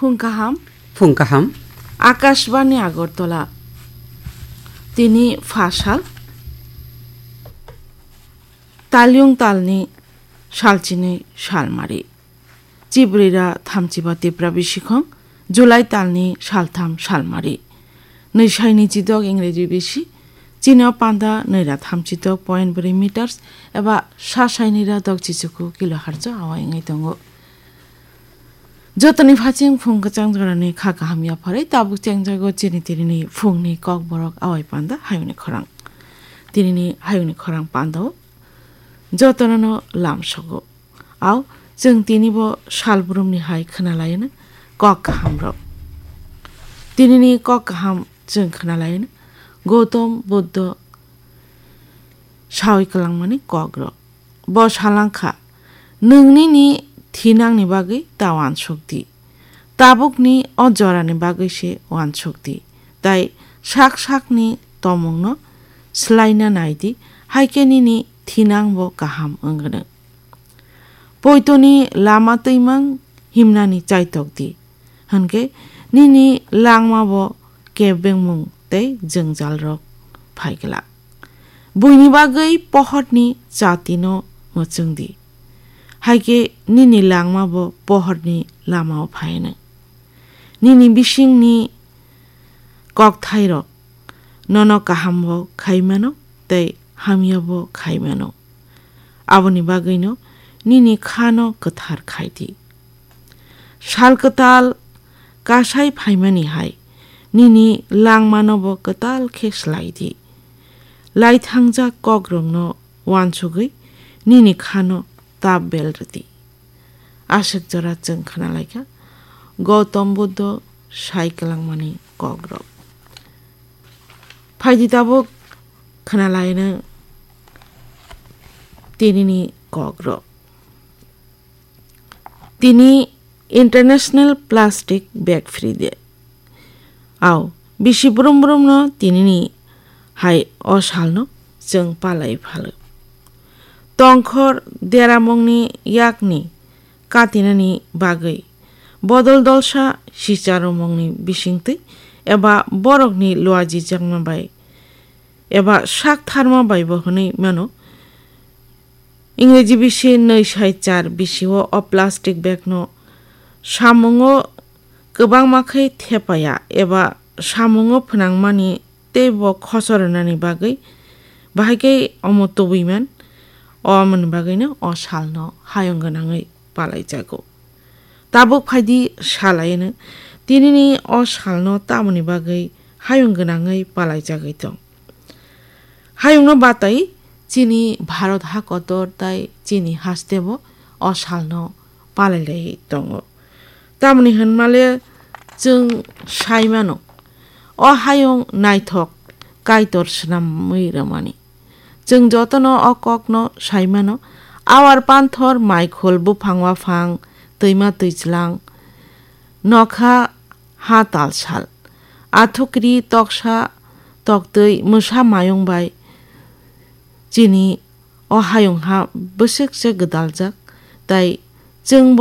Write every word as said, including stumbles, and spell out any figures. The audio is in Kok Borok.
Phung kaham. Phung kaham. Akashbani Agartala. Tini phasal. Talyung talni salchini salmari. Chibrira thamchiba Tipra bisikhong, July talni saltham salmari. Nwisaini chidok Ingreji bisi, chini o panda nwira thamchidok point bwrwi meters eba sasainira dok chichuku kilohertz o awai wngwi tongo. Jotoni phaching phung kwchang jorani kha kaham yapharwi tabuk chengjago chini tinini phungni kokborok awai panda hayungni khorang. Tinini hayungni khorang pandao jotonono lamsogo. Au, chwng tinibo salbrumni hai khwnalaino kok kahamrok. Tinini kok kaham chwng khwnalaino Gautam Buddho sawi kwlangmani kokrok. Bo salangkha, "Nwng nini thinangni bagwi ta uansuk di. Tabukni o jorani bagwi se uansuk di. Tai sak sakni tomungno swlaina nai di, hai khe nini thinangbo kaham wngwno. Poitoni lama twimang himnani chaitok di, hwnkhe nini langmabo kebengmung tei jwngjalrok phai glak. Buini bagwi pohorni chatino mwchwng di, hai khe nini langmabo pohorni lamao phaino. Nini bisingni kokthairok nono kahambo khai mano tei hamyabo khai mano. Aboni bagwino nini khano kwthar khai di. Sal kwtal kasai phaimani hai nini langmanobo kwtal khe slai di. Laithangjak kokrokno uansugwi nini khano tap bel rw di." Aswk jora chwng khwnalaikha Gautam Buddho sai kwlangmani kokrok. Phaidi tabuk khwnalaino tinini kokrok. Tini International Plastic Bag Free Day. Au, bisi brum brumno tinini hai o salno chwng palai phalo. Tongkhor deramungni yakni katinani bagwi bodol dolsa sicharomungni bisingtwi eba borokni luajijakma bai eba sak tharma bai bo hwnwi mano. Ingreji bisi nwi sai char bisio o plastic bagno samungo kwbangma khe thepaya eba samungo phnangmani tei bo khoso rwnani bagwi bahai khe omo tubui man, o omoni bagwino o salno hayung gwnangwi palaijago. Tabuk phaidi salaino, tinini o salno tamoni bagwi hayung gwnangwi palaijagwi tong. Hayungno batai chini Bharat ha kotor tai chini hastebo o salno palailai tongo. Tamoni hwnmale chwng sai mano, o hayung naithok Kaitor swnamwi rwmani. Chwng jotono o kokno sai mano, awar panthor, maikhul, buphang waphang, twima twijlang, nokha ha talsal, athukri toksa toktwi mwsa mayung bai chini o hayung ha bwswk se gwdaljak, tai chwngbo